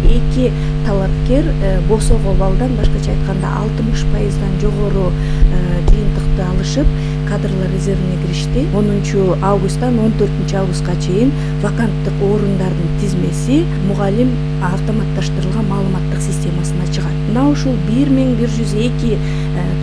Эки талапкер босого баллдан, башкача айтканда 60%дан жогору жыйынтыкты алышып, кадрлар резервине киришти. 10 августтан 14 августка чейин ваканттык орундардын тизмеси мугалим автоматташтырылган маалыматтык системасына чыгат. Мына ушул 1102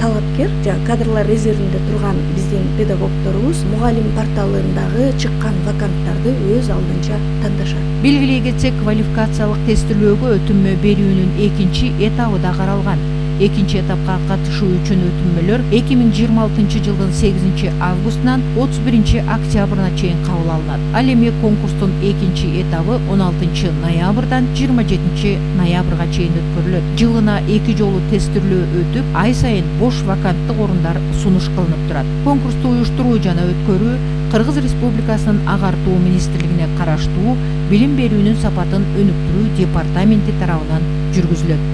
талапкер кадрлар резервинде турган биздин педагогдорубуз мугалим порталындагы чыккан ваканттарды өз алдынча тандашат. Белгилей кетсек, квалификациялык тестилөөгө өтүнмө берүүнүн экинчи этабы да каралган. Экинчи этапка катышуу үчүн өтүнмөлөр 2026 жылдын 8 августунан 31 октябрына чейин кабыл алынат. Ал эми конкурстун экинчи этабы 16 ноябрдан 27 ноябрга чейин өткөрүлөт. Жылына 2 жолу тестилөө өтүп, ай сайын бош ваканттык орундар сунуш кылынып турат. Конкурсту уюштуруу жана өткөрүү Кыргыз Республикасынын агартуу министрлигине караштуу билим берүүнүн сапатын өнүктүрүү департаменти тарабынан жүргүзүлөт.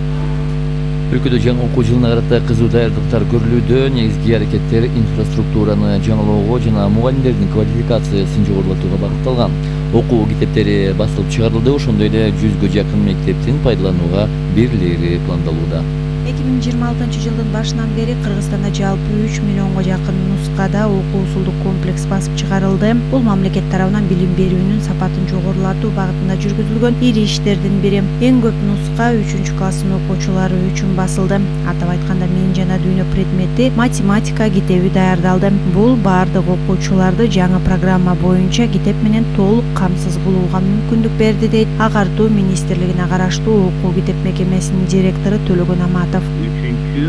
Өлкөдө жаңы окуу жылына карата кызуу даярдыктар көрүлүүдө. Негизги аракеттер инфраструктураны жаңылоого жана мугалимдердин квалификациясын жогорулатууга багытталган. Окуу китептери басылып чыгарылды, ошондой эле 100гө жакын мектептин пайдаланууга берилери пландалууда. 2026 жылдын башынан бери Кыргызстанда жалпы 3 миллионго жакын нускада окуу усулдук комплекс басып чыгарылды. Бул мамлекет тарабынан билим берүүнүн сапатын жогорулатуу багытында жүргүзүлгөн ири иштердин бири. Эң көп нуска 3-класстын окуучулары үчүн басылды. Атап айтканда Мен жана дүйнө предмети математика китеби даярдалды. Бул баардык окуучуларды жаңы программа боюнча китеп менен толук камсыз кылууга мүмкүндүк берди, дейт Агартуу министрлигине караштуу окуу китеп мекемесинин директору Төлөгөн Аматов. 3-6,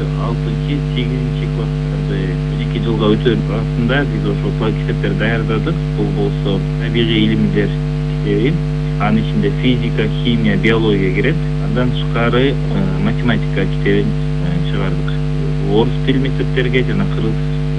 8 класстарды 2 жылга өтөрүп астында биз ошол китептерди даярдадык. Бул болсо табигый илимдер китеби, анын ичинде физика, химия, биология кирет. Андан тышкары математика китебин чыгардык. Орус тил мектептерге жана кыргыз